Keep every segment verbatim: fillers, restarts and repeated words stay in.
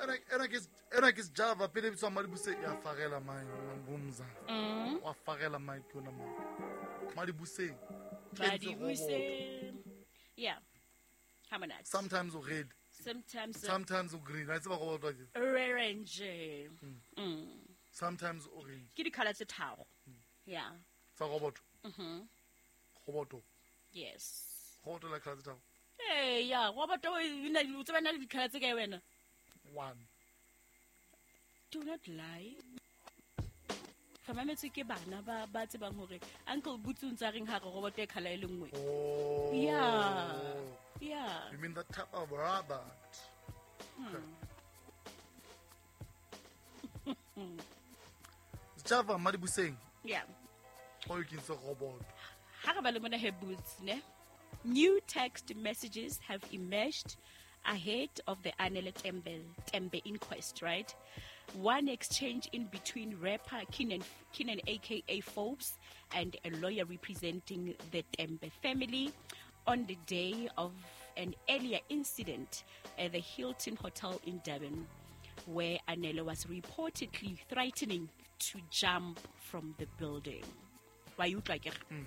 Ena ena ke ena ke Java pele bitswa Madibuse ya farela mai ngumza. Mm. Wa farela mai ke yona mai. Madibuse. Madibuse. Yeah. Ha monate. Sometimes o red. Sometimes sometimes o green. I tseba go batla ke. Orange. Mm. Sometimes orange. Ke di color tse tharo. Yeah. Tsa roboto. Mhm. Roboto. Yes. Roboto la color tse tharo. Eh yeah, roboto o na o tseba na le di color tse kae wena? One. Do not lie. Re mametse ke bana ba ba tsebang hore Uncle Boots o ntsa reng ha re roboto e color e le nngwe. Oh. Yeah. Yeah. You mean that type of robot? Hmm. Java Madibuseng. Yeah. O you can say robot. Ha re ba le mona he Boots ne. New text messages have emerged ahead of the Anele Tembe, Tembe inquest, right? One exchange in between rapper Kiernan, Kiernan A K A Forbes and a lawyer representing the Tembe family on the day of an earlier incident at the Hilton Hotel in Durban, where Anele was reportedly threatening to jump from the building. Why you like it? Mm.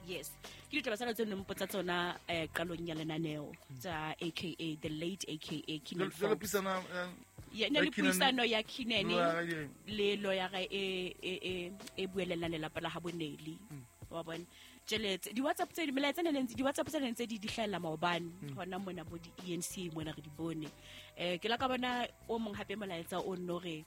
Yes. Ke ditaba tsena tse neng mpotsa tsona eh qalong ya lenaneo tsa A K A the late A K A Kiernan Jalo Forbes. puisana, eh, Yeah, ne le ya Kiernan puisano ya Kiernan lawyer ya le lawyer e e e e buellang lelapa la ha bo Nelly. Mm. Wa bona. Tjhelete di WhatsApp tse di melaetsa ne ntse di WhatsApp tse ntse di di hlahella maobane Mm. hona mona bo di E N C mona re di bone. Eh ke la ka bona o mong hape molaetsa o nno re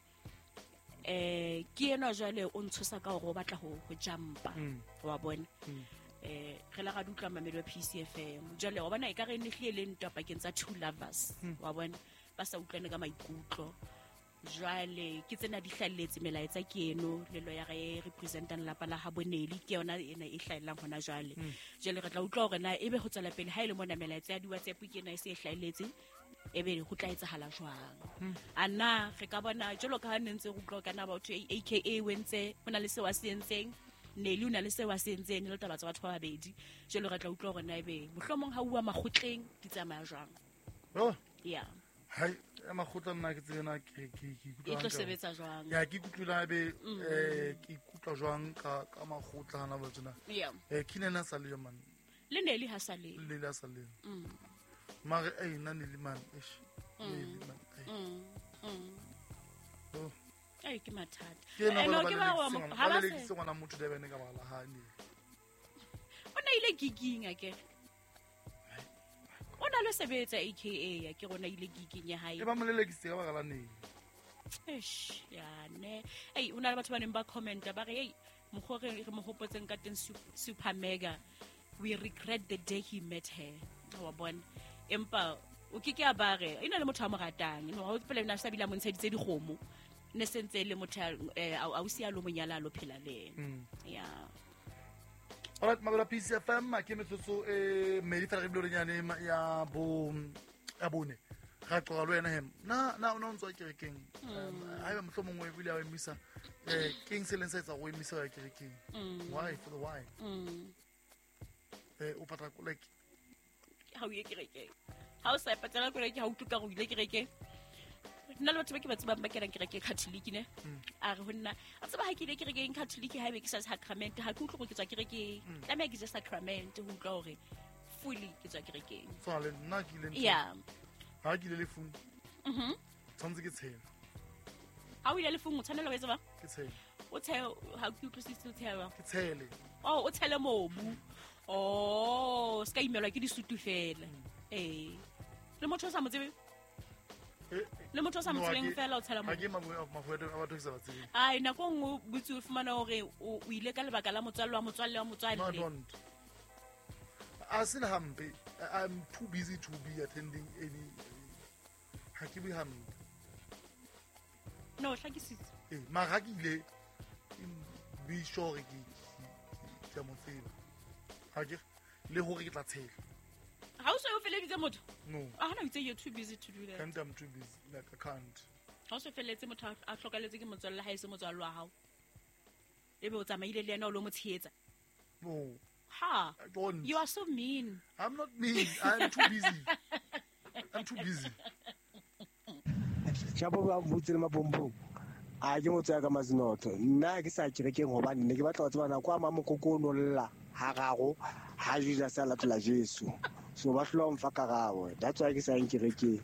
eh ke ena jwale o ntshosa ka hore o batla ho ho jumpa. Mm. Wa bona. Mm. Eh re la ga di utlwa mamelo ya P C F M. Jwale wa bona e ka re ne hlile le ntwa pakeng tsa two lovers. Mm. Wa bona ba sa utlwane ka maikutlo. Jwale ke tsena di hlalletse melaetsa ke eno le lawyer e representang lapa la ha bo Nelly ke yona ena e hlaellang hona jwale. Mm. Jwale re tla utlwa hore na ebe ho tswela pele ha ile mona melaetsa ya di WhatsApp ke ena e se e hlahelletse ebe ho tla etsahala jwang. Mm. A na re ka bona jwalo ka ha ne ntse re utlwa ka na batho A K A wentse ho na le seo a se entseng Nelly o na le seo a se entseng le taba tsa batho ba babedi. Jwale re tla utlwa hore na ebe mohlomong ha uwa makgotleng di tsamaya jwang. Oh. Yeah. Hai, ya makgotla nna ke tsena ke ke ke ikutlwa E tlo hantle. sebetsa jwang? Ya, ke ikutlwile haebe, Mm. eh, ke ikutlwa jwang ka, ka makgotla hana ba tjena. Yeah. Eh, Kiernan a sa le yo, man. Le Nelly ha sa le. Le Nelly ha sa le yo. Mm. Mare, eh, nna Nelly man, eish. Mm. Nelly man, eh. Mm. Mm. Oh. Ai, ke mathata. Ke ena Eh, ba no, ba ke ba wa lelekiseng mo- ngwana- ha ba ba se- lelekiseng ngwana motho Durban ka baka la hae, Nelly. O na ile gigging akere? O na le sebetsa A K A ya ke rona ile gigging ya hae. E ba mo lelekisitse ka baka la Nelly. Eish, ya ne. Ei, o na le batho ba neng ba commenta ba re, ei, mokgwa re, re mo hopotseng ka teng Sup-, Super Mega. We regret the day he met her. Wa bona. Empa o ke ke a ba re, e na le motho a mo ratang. No, ha o tsebe le na sa bile a mo ntsheditse dikgomo. Ne se ntse e le motho a, eh, a, ausi a lo monyala a lo phela le ena. Mm. Yeah. All right, Mabela P C F M, ke metsotso e mmedi fela re bile re nyane ma-, ya bo, ya bone. Ra qoqa le wena hem. Na, na o ne o ntse o ya kerekeng? Mm. Um, haeba mohlomong o ebile a o emisa, eh, keng se leng sa etsa hore o emise ho ya kerekeng? Mm. Why? For the why? Mm. Eh, o patala ko, like Ha o ye kerekeng. Ha o sa e patala koloi ke ha o utlwe ka hore o ile kerekeng. Nna le batho ba ke ba tsebang ba kenang kereke Catholic ne. Mm. A re ho nna, a tseba ha ke ile kerekeng Catholic ha ebe ke sa sacrament, ha ke utlwe hore ke tswa kerekeng. Mm. Tlameha ke je sacrament ho utlwa hore fully ke tswa kerekeng. Tshwana le nna ke ile ntlong. Yeah. Ha ke ile lefung. Mhm. Tshwanetse ke tshele. Ha o ile lefung o tshwanela ho etsa jwang? Ke tshele. O tshele, ha ke utlwisise o tshela. Ke tshele. Oh, o tshele mobu. Oh, se ka imelwa ke disutu fela. Mm. Eh. Le motho o sa mo tsebe? Eh, Le motho o sa mo no, ha tsebeng ke- fela o tshela ha mobu. ke mafu a-, mafu a batho ke sa ba tsebeng. Ai, nako e nngwe o botse o fumana hore o, o ile ka lebaka la motswalle wa motswalle wa motswalle. No, I don't. A se le hampe. I, I'm too busy to be attending any. Ha ke bue hampe. No, hlakisitse. Eh, mara ha ke ile, ke be sure ke, ke, ke, ke a mo tseba. Ha ke re, le hore ke tla tshela. Ha o so o feleditse motho? No. Ah, hana o itse you're too busy to do that. Can't, I'm too busy. Like, I can't. Ha o so feletse motho a, a hlokaletse ke motswalle ha e se motswalle wa hao. Ebe o tsamaile le yena o lo mo tshehetsa. No. Ha. I don't. You are so mean. I'm not mean. I'm too busy. I'm too busy. Shapo ba butse le mapompong. A ke motho ya ka Mazinotho. Nna ke sa kerekeng hobane ne ke batla ho tseba nako a mamokoko o no lla hararo ha Jesus a latola Jesu. So ba hlola mfa karabo. That's why ke sa yang kerekeng.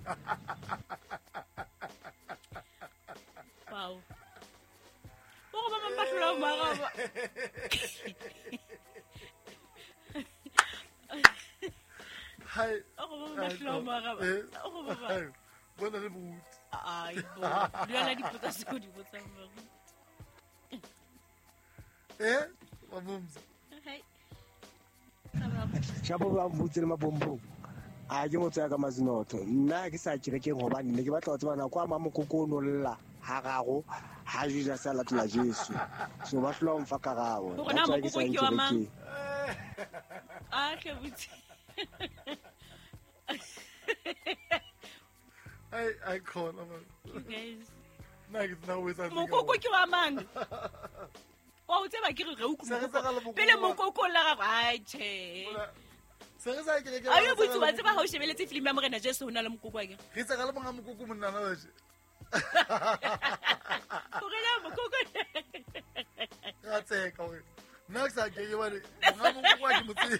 Wow. O go ba ba hlola mo araba. Hi. O go ba ba hlola mo araba. O go ba ba. Bona le moruti. Ai bo. Dula dipotsa se go di botsa moruti. Eh, wa mumza. Hey. Shapo ba butse le mapompong. A ke motho ya ka Mazinotho. Nna ke sa kerekeng hobane ne ke batla ho tseba nako a mamokoko o no lla hararo ha Jesus a latola Jesu. So ba hlola mfa karabo. That's why ke sa yang kerekeng. Ah, ke butse. I I call man. You guys. Nna ke tsena o etsa mokoko ke wa mang? Wa o tseba ke re re utlwa pele mokoko la gago. Ai che. Se re sa ke ke. Ayo botse wa tseba ha o shebeletse film ya Morena Jesu ho na le mokoko wa ke. Re tsa ka le monga mokoko monna na je. Gore la mokoko. Ra tseka hore nna ke sa ke ke ba re monga mokoko wa ke motse.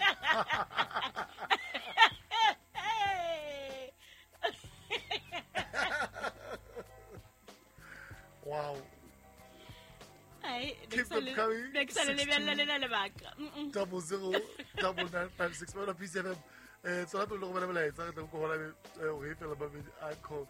Wow. Ai, keep them coming. Next time le le lebaka. Double zero double nine five six one P C F M. Eh tsona pele go bona molaetsa re tla go hola o re fela ba a call.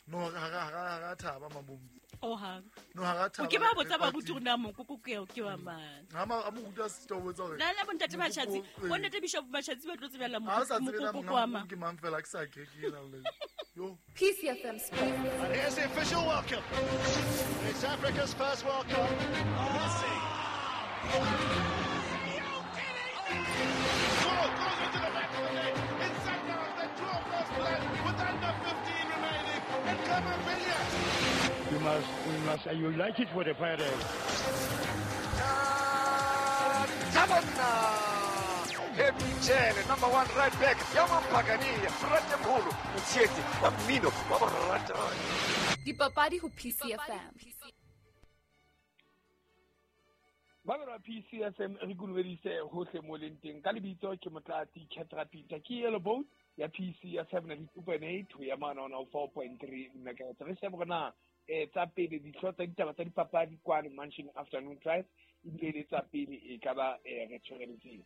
No ga ga ga ga thaba mabum. Oh ha. No ga ga thaba. Ke ba botsa ba ruti rona mokoko ke ke wa mang. Ha ma a mo ruta se to botsa hore. Na le bontate Machatsi, bontate Bishop Machatsi ba tlo tsebella mokoko wa mang. Ke mang fela ke sa ke ke na le. Yo. P C F M Sports. And here's the official welcome. It's Africa's first World Cup. Messi. Goal goes into the back of the net. It's Sundowns that draw first blood with under fifteen remaining. And Camavinga. We must, we must unite it for the Pirates. Tabana. Michele, number one right back, Yaman Pagani, Fratemholo, Mtsieti, Amino, Babarata. Dipapadi ho P C F M. Ba P C F M re kulwedise hohle mo leng teng ka lebitso ke Motlatsi Ketra Peter ke yellow boat ya P C F M ninety-two point eight ho ya mana one oh four point three megahertz. Re shebe hore na eh tsa pele dihlooho tsa ditaba tsa dipapadi kwano Mansion Afternoon Drive ebile le tsa pele e ka ba re tshwareletseng.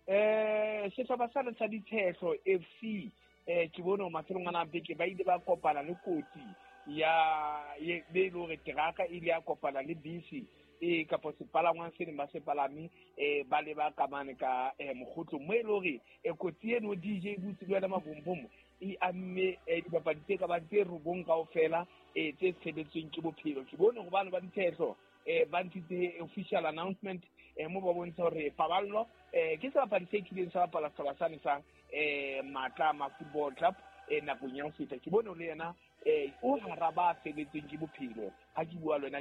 Eh sehlopha sa sa Ditshehlo F C eh ke bone mafelong ana beke ba ile ba kopana le kotsi ya ye be le hore teraka ile ya kopana le bisi e kapo sepalangwang se neng ba se palame eh ba le ba kamane ka mogotlo mo e le hore e kotsi eno D J butse le wena mabombom e amme dibapadi tse ka bang tse robong kaofela eh tse sebetsweng ke bophelo. Ke bone hobane ba Ditshehlo eh ba ntshitse official announcement eh mo ba bontsha hore paballo eh ke sebapadi se kileng sa bapala sehlopha sane sa eh Matlama Football Club eh nakong ya ho feta. Ke bone le yena eh o hara ba feletseng ke bophelo ha ke bua le wena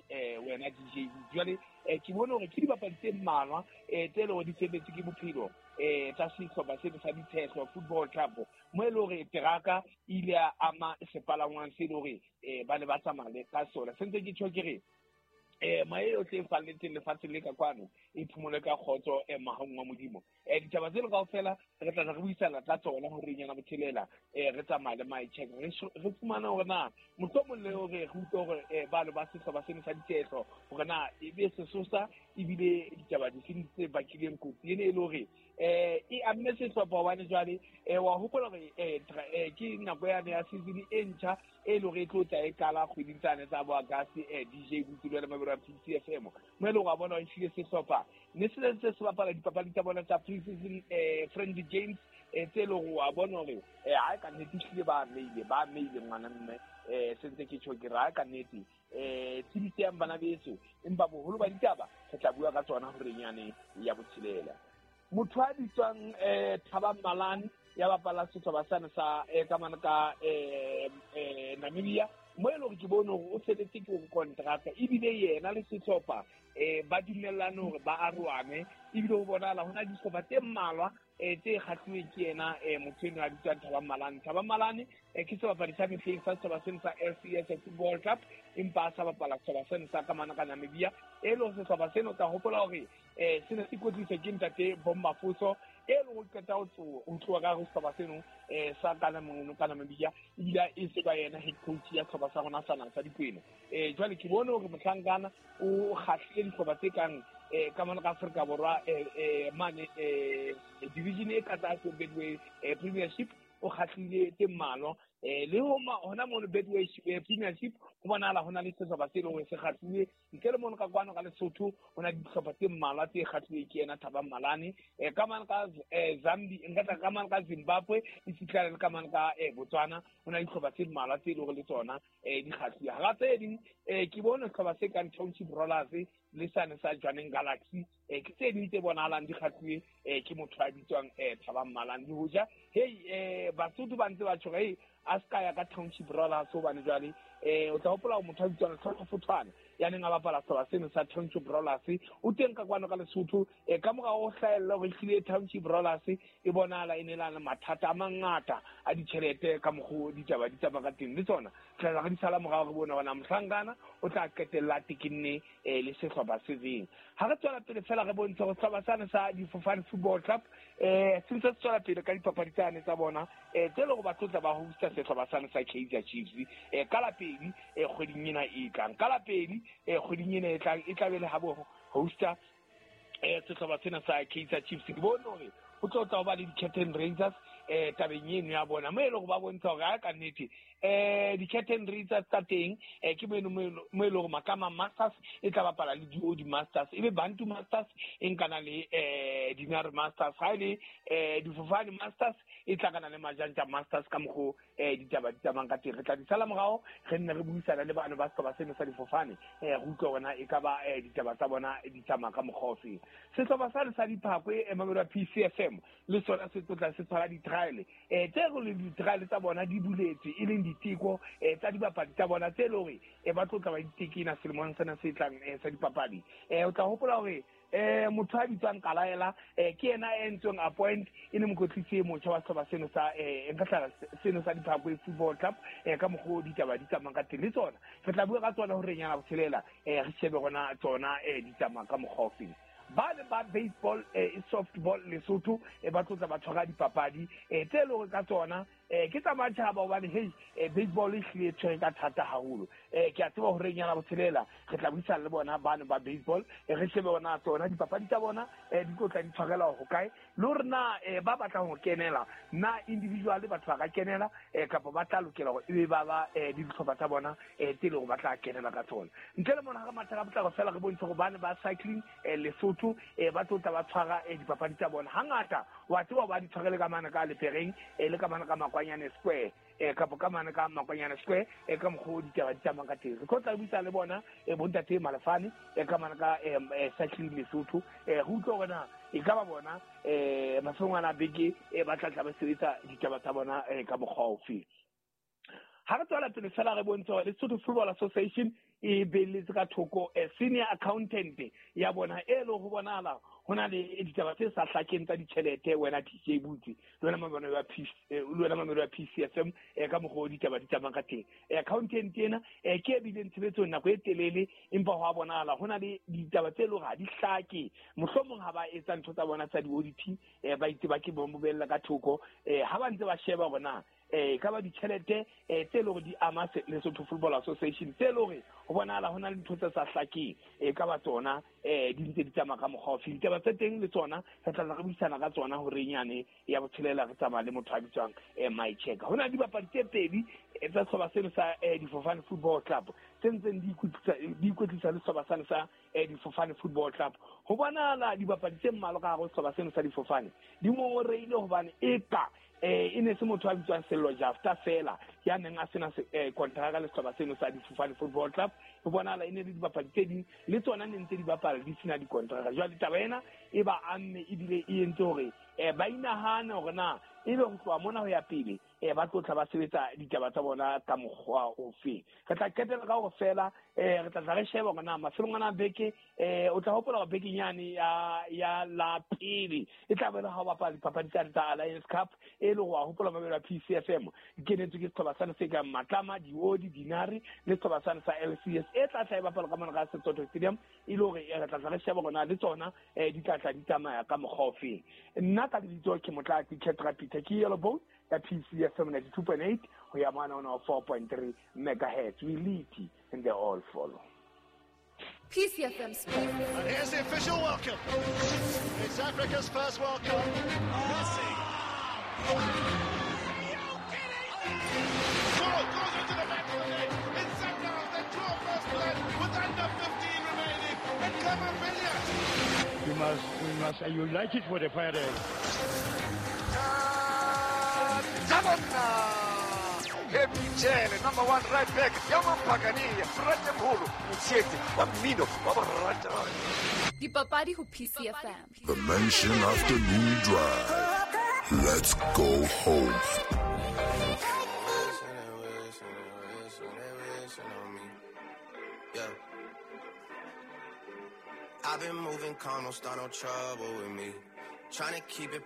eh wena D J jwale eh ke bone hore ke dibapadi tse mmalwa eh tse leng hore di feletse ke bophelo eh tsa sehlopha sena sa Ditshehlo Football Club mo e le hore teraka ile ya ama sepalangwang se le hore eh ba ne ba tsamaya le ka sona. Se ntse ke tjho ke re eh mae yohle e falletseng lefatsheng le ka kwano e phumole ka kgotso e mahong wa Modimo. Eh ditaba tseno kaofela re tla re buisana tla tsona hore nyana botshelela eh re tsamaya le my check re re fumana hore na mohlomong le hore re utlwe hore eh balo ba sehlopha sena sa Ditshehlo hore na e be sesosa ebile ditaba di seng tse bakileng kotsi ene e le hore eh e amme sehlopha hobane jwale eh wa hopola hore eh ke nako yane ya season e ntjha e le hore e tlo tla e qala kgweding tsane tsa bo August eh D J Butulwe le Mabelo a P C F M mo e le hore wa bona o ehlile sehlopha ne se ntse se bapala dipapadi tsa bona tsa pre-season eh friendly games eh tse le hore wa bona hore eh ha ka nnete ehlile ba meile ba meile ngwana mme eh se ntse ke tjho ke ra ka nnete eh tshedise yang bana beso empa boholo ba ditaba re tla bua ka tsona hore nyane ya botshelela. Motho a bitswang eh Thabang Malane ya bapala sehlopha sane sa eh ka mana ka eh eh Namibia mo e leng hore ke bone hore o feletse ke ho kontraka ebile yena le sehlopha eh ba dumellane hore ba aroane ebile ho bonahala hona dihlopha tse mmalwa eh tse kgahlilweng ke yena eh motho eno a bitswang Thabang Malane. Thabang Malane eh ke sebapadi sa mehleng sa sehlopha seno sa L C S Football Club, empa a sa bapala sehlopha seno sa ka mane ka Namibia. E le hore sehlopha seno o tla hopola hore eh se ne se kwetliswa ke ntate Bommafoso, e leng ho qeta ho tloha ka hare ho sehlopha seno eh sa ka Namibia, ebile e se ba yena head coach ya sehlopha sa rona sa naha sa Dikwena. Eh jwale ke bone hore mohlankana o kgahlile dihlopha tse kang eh ka mona ka Afrika Borwa eh eh mane eh division e ka tlase Betway Premiership, o kgahlile tse mmalwa. Eh le hona hona mono Betway Premiership ho bonahala hona le sehlopha se leng hore se kgahlile ntle le mono ka kwano ka Lesotho ho na le dihlopha tse mmalwa tse kgahlilweng ke yena Thabang Malane. Eh ka mane ka Zambia, nka tla ka mane ka Zimbabwe, e fitlhela le ka mane ka Botswana ho na le dihlopha tse mmalwa tse leng hore le tsona eh di kgahlile. Hara tse ding eh ke bone sehlopha se kang Township Rollers le sane sa Jwaneng Galaxy, eh ke tse ding tse bonahalang di kgahlilwe eh ke motho a bitswang eh Thabang Malane. Le hoja hey eh Basotho ba ntse ba tjho hey a ska ya ka Township Rollers hobane jwale eh o tla hopola hore motho a bitswang Tlhoko Fothwana ya neng a bapala sehlopha seno sa Township Rollers o teng ka kwano ka Lesotho. Eh ka morao ho hlahella hore ehlile Township Rollers e bonahala e nelana mathata a mangata a ditjhelete ka mokgwa ditaba di tsamaya ka teng, le tsona tla re di sala morao re bone hore na mohlankana o tla qetella tekenne eh le sehlopha se feng. Ha re tswela pele fela re bontshe hore sehlopha sane sa Difofane Football Club eh se ntse se tswela pele ka dipapadi tsane tsa bona eh tse leng hore ba tlotla ba hosta sehlopha sane sa Kaizer Chiefs eh ka la pedi eh kgweding ena e tlang, ka la pedi eh kgweding ena e tlang e tla be le ha bo hosta eh sehlopha sena sa Kaizer Chiefs. Ke bone hore ho tlo tla ho ba le di-Captain Rangers eh tabeng eno ya bona mo e leng hore ba bontsha hore ha ka nnete eh di-Captain Rangers tsa teng eh ke mo mo e leng hore Makama Masters e tla bapala le D O D Masters, ebe Bantu Masters e nkana le eh Dinare Masters, ha ile eh Difofane Masters e tla kana le Majanja Masters ka mokgo eh ditaba di tsamayang ka teng. Re tla di sala morao re nne re buisana le bana ba sehlopha seno sa Difofane eh re utlwe hore na e ka ba eh ditaba tsa bona di tsamaya ka mokgwa ofe. Sehlopha sa sa Diphakwe eh Mamelodi P C F M le sona se tlotla se tshwara di-trial eh tse re le di-trial tsa bona di buletswe e leng diteko eh tsa dibapadi tsa bona tse leng hore eh ba tlotla ba ditekena selemong sena se tlang eh sa dipapadi. Eh o tla hopola hore eh motho a bitswang Kalaela eh ke yena a entsweng appoint e le mokwetlisi e motjha wa sehlopha seno sa eh nka tlala seno sa Diphakwe Football Club eh ka mokgwa ditaba di tsamayang ka teng. Le tsona re tla bua ka tsona hore nyana botshelela eh re shebe rona tsona eh di tsamaya ka mokgwa ofeng. Ba le ba baseball eh softball Lesotho e ba tlotla ba tshwara dipapadi eh tse leng hore ka tsona eh ke tsa matjhaba hobane hey baseball e hlile tshwere ka thata haholo. Eh ke a tseba hore nyana botshelela re tla buisana le bona bana ba baseball re shebe bona tsona dipapadi tsa bona eh di tlotla di tshwarela ho kae le hore na ba batlang ho kenela na individual batho ba ka kenela eh kapa ba tla lokela hore ebe ba ba di dihlopha tsa bona eh tse leng hore ba tla kenela ka tsona. Ntle le mona ha re matha ka potlako fela re bontshe hore bana ba cycling eh Lesotho eh ba tlotla ba tshwara eh dipapadi tsa bona hangata wa tseba ba di tshwarele ka mana ka Lepereng eh le ka mana ka Makwanyane Square eh kapa ka mana ka Makwanyane Square eh ka mokgwa ditaba di tsamaya ka teng. Re tlo tla buisana le bona eh bontate Malefane eh ka mana ka eh cycling Lesotho eh re utlwe hore na e ka ba bona eh mafelong a beke eh ba tla tla ba sebetsa ditaba tsa bona eh ka mokgwa ofe. Ha re tswela pele fela re bontshe hore Lesotho Football Association e beletse ka thoko eh senior accountant ya bona e le ho bonahala ho na le ditaba tse sa hlakeng tsa ditjhelete wena T J Butsi le wena Mamelodi ya P le wena Mamelodi ya P C F M eh ka mokgwa ditaba di tsamaya ka teng. Eh accountant ena eh ke e bileng tshebetsong nako e telele empa ho a bonahala ho na le ditaba tse leng hore ha di hlake, mohlomong ha ba etsa ntho tsa bona tsa di-audit eh ba itse ba ke bo bella ka thoko eh ha ba ntse ba sheba hore na eh ka ba ditjhelete eh tse leng hore di ama Lesotho Football Association tse leng hore ho bonahala ho na le ntho tse sa hlakeng e ka ba tsona eh di ntse di tsamaya ka mokgwa ofe. Ditaba tse teng le tsona re tla re buisana ka tsona hore nyane ya botshelela re tsamaya le motho a bitswang eh Mycheck. Ho na le dibapadi tse pedi tsa sehlopha seno sa Difofane Football Club tse ntseng di ikwetlisa di ikwetlisa le sehlopha sane sa Difofane Football Club. Ho bonahala dibapadi tse mmalwa ka hare ho sehlopha seno sa Difofane di ngongoreile hobane eka eh e ne se motho a bitswang Sello Jafta fela ya neng a sena kontraka le sehlopha seno sa Difofane Football Club. Ho bonahala e ne le dibapadi tse ding le tsona ne ntse di bapala di sena dikontraka. Jwale taba ena e ba amme ebile e entse hore eh ba inahane hore na ebe ho tloha mona ho ya pele eh ba tlo tla ba sebetsa ditaba tsa bona ka mokgwa ofe. Re tla qetela ka hore fela eh re tla tla re sheba hore na mafelong ana beke eh o tla hopola hore beke nyane ya ya la pele e tla be le ha o bapala dipapadi tsa tsa Alliance Cup e le ho hopola mabelo a P C F M kenetswe ke sethoba sane se kang Matlama Diodi Dinari le sethoba sane sa L C S e tla tla e bapala ka mona ka Setsotho Stadium e le hore re tla tla re sheba hore na le tsona eh di tla tla di tsamaya ka mokgwa ofe. Nna ka lebitso ke Motlatsi Ketra Peter ke Yellow Boat ya P C F M ninety-two point eight ho ya mona on four point three megahertz. We lead and they all follow. P C F M Sports. And here's the official welcome. It's Africa's first World Cup. Messi. Are you kidding me? Goal goes into the back of the net. It's Sundowns that draw first blood with under fifteen remaining. And Khama Billiat. We must, we must unite it for the Pirates. Happy number one right back, Yaman Pagani, Fratemholo, Mutshete, wa mmino, wa borata. Dipapadi ho P C F M. The Mansion Afternoon Drive. Let's go home. Yeah. I've been moving calm, don't start no trouble with me. Trying to keep it